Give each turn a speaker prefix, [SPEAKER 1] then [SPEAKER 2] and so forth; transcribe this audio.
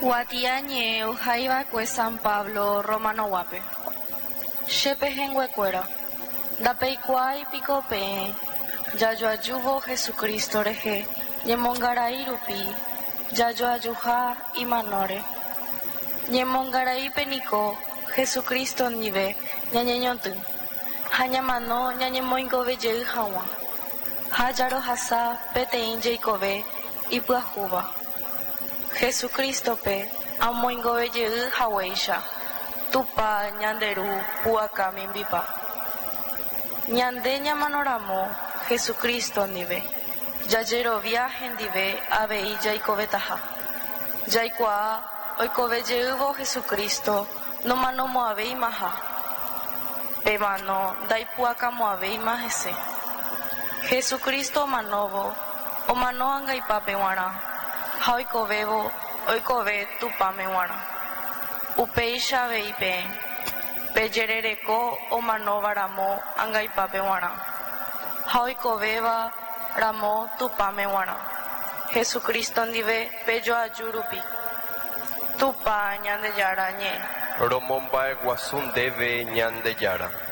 [SPEAKER 1] Kuatiañe'ẽ ohaiva'ekue San Pablo Romanoguápe. Che pehẽnguekuéra, ndapeikuaái piko peẽ jajoajúvo Jesucristo rehe ñemongarai rupi jajoajuha imanóre. Ñemongaraípe niko Jesucristo ndive ñañeñotỹ ha ñamano ñañemoingove jey hag̃ua, ha jarohasa peteĩ jeikove ipyahúva. Jesucristo-pe amoingove jey haguéicha, Tupã ñande Ru pu'aka mimbipa. Ñande ñamano ramo Jesucristo ndive, jajerovia hendive avei jaikovetaha. Jaikuaa oikove jeývo Jesucristo nomanomo'ãvéimaha, pe mano ndaipu'akamo'ãvéima hese. Jesucristo omanóvo, omano angaipápe g̃uarã, ha oikovévo, oikove Tupãme g̃uarã. Upéicha avei peẽ, pejerereko omanóva ramo angaipápe g̃uarã, ha oikovéva ramo Tupãme g̃uarã, Jesucristo ndive pejoaju rupi. Tupã Ñandejára ñe'ẽ.
[SPEAKER 2] Romomba'eguasu ndéve Ñandejára.